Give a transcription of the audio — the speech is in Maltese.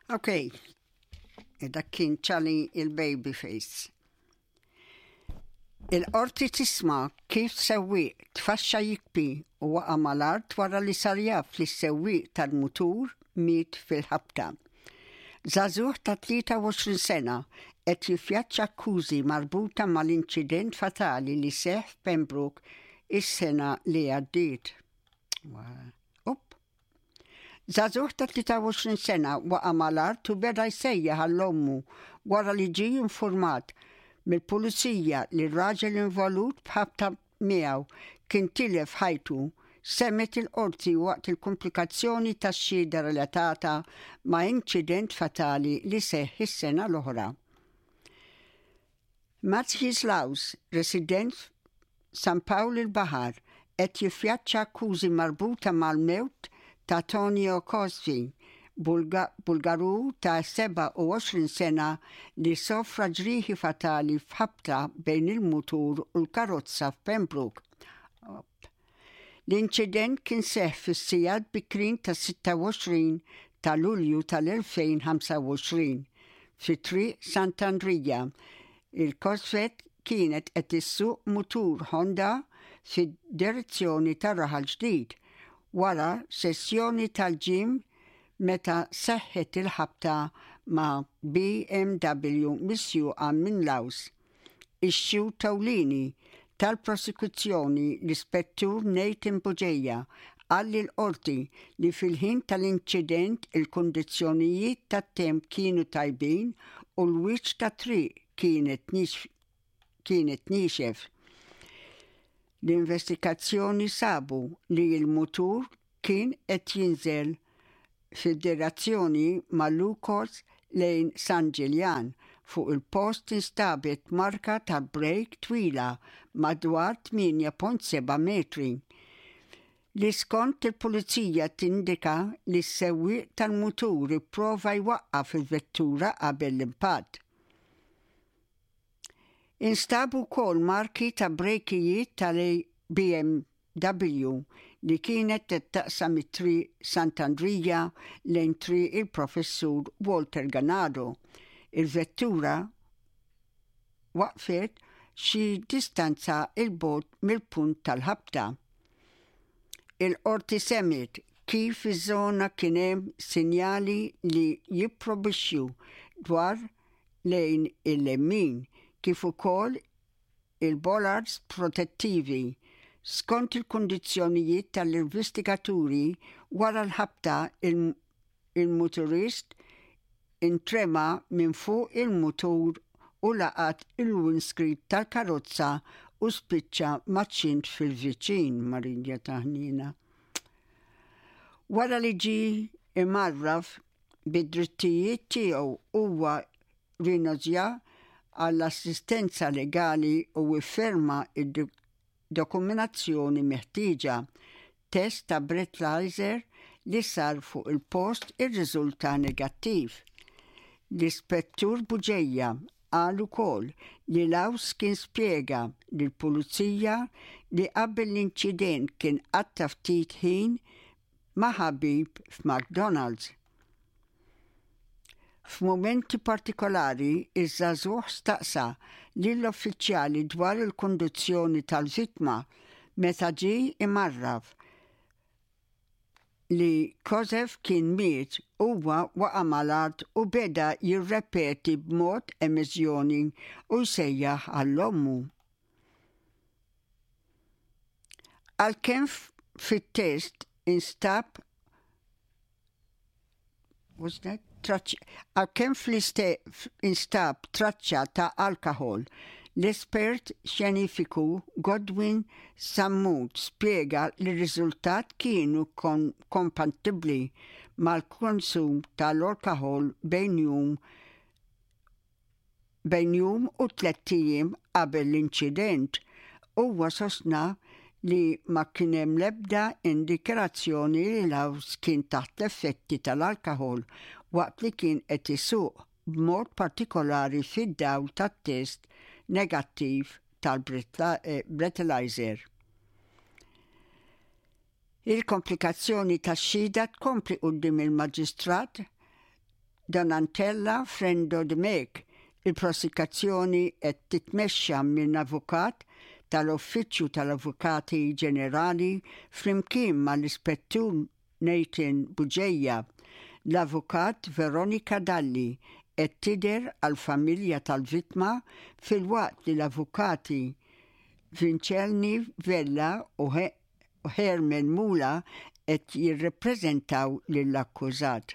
Ok, e dak kien Charlie il-Babyface. Il-qorti tisma' kif sewwieq tfaxxa jikbi u waqa' mal-art wara li sar jaf li s-sewwieq tal-mutur miet fil-ħabta. Żagħżugħ ta' 23 sena qed jiffjaċċa akkużi marbuta mal-inċident fatali li seħħ f'Pembroke is-sena li għaddiet. Up. Żagħżugħ ta' 23 sena waqa' mal-art u beda jsejjaħ għal ommu wara li ġie infurmat mill-Pulizija li r-raġel involut b'ħabta miegħu kien tilef ħajtu, semgħet il-Qorti waqt il-kumplikazzjoni tax-xhieda relatata ma' inċident fatali li seħħ is-sena l-oħra. Mathies Laus, resident f'San Pawl il-Baħar, qed jiffjaċċa akkużi marbuta mal-mewt ta' Tonio Cosfi, Bulgaru ta' 27 sena li sofra ġrieħi fatali f'ħabta bejn il-mutur u l-karozza f'Pembroke. L-inċident kien seħħ fis-sigħat bikrin tas-26 ta' Lulju tal-2025 fi Triq Sant'Andrija. Il-Cosfet kienet qed issuq mutur Honda fid-direzzjoni ta' Raħal Ġdid wara sessjoni tal-gym meta seħħet il-ħabta ma' BMW misjuqa minn Laus. Ix-xhud ewlieni tal-prosekuzzjoni, l-Ispettur Nathan Bugeja, qal lill-Qorti li fil-ħin tal-inċident il-kundizzjonijiet tat-temp kienu tajbin u l-wiċċ tat-triq kienet kienet niexef. L-investigazzjoni sabu li l-mutur kien qed jinżel fid-direzzjoni Malucos lejn San Ġiljan. Fuq il-post instabet marka ta' brejk twila madwar 8.7 metri, li skont il-Pulizija tindika li s-sewwieq tal-mutur ipprova jwaqqaf il-vettura qabel l-impatt. Instabu wkoll marki ta' brejkijiet tal-BMW li kienet qed taqsam it-Triq Sant'Andrija lejn Triq il-Professur Walter Ganado. Il-vettura waqfet xi distanza 'l bogħod mill-punt tal-ħabta. Il-Qorti semgħet kif fiż-żona kien hemm sinjali li jipprobixxu dwar lejn il-lemin kif ukoll il-bollards protettivi. Skont il-kundizzjonijiet tal-investigaturi, wara l-ħabta il-muturist intrema minn fuq il-mutur u laqat il-windscreen tal-karozza u spiċċa maċ-ċint fil-viċin, Marija ta' ħniena. Wara li ġie imgħarraf bid-drittijiet tiegħu huwa rrinunzja għall-assistenza legali u fferma d-dokuminazzjoni meħtieġa. Test ta' breathalyzer li sar fuq il-post irriżulta negattiv. L-Ispettur Bugeja qal ukoll li Laus kien spjega lill-Pulizija li qabel l-inċident kien qatta' ftit ħin ma' ħabib f'McDonald's. F'mumenti partikolari, iż-żagħżugħ staqsa lill-uffiċjali dwar il-kundizzjoni tal-vittma meta ġie imgħarraf li Kozev kien miet, huwa waqa' mal-art u beda jirrepeti b'mod emiżjoni u jsejjaħ għal ommu. Għalkemm fit-test instab Għalkemm instab traċċa ta' alkoħol, l-espert xjenifiku Godwin Sammut spjega li r-riżultat kienu kompatibbli mal-konsum tal-alkoħol bejn jum Bejn jum u tlett ijiem qabel l-inċident, huwa sostna li ma kien hemm l-ebda indikerazzjoni li Laws kien taħt l-effetti tal-alkoħol waqt li kien qed isuq, b'mod partikolari fid-dawl tat-test negattiv tal-breathalyzer. Il-komplikazzjoni tax-xhieda tkompli quddiem il-Maġistrat. Donantella Frendo Dimech. Il-prosikazzjoni qed titmexxa minn avukat tal-Uffiċċju tal-Avukati Ġenerali flimkien mal-Ispettur Nathan Bugeja. L-Avukat Veronica Dalli qed tidher għall-familja tal-vittma filwaqt li l-Avukati Vincelni Vella u Herman Mula qed jirrappreżentaw lill-akkużat.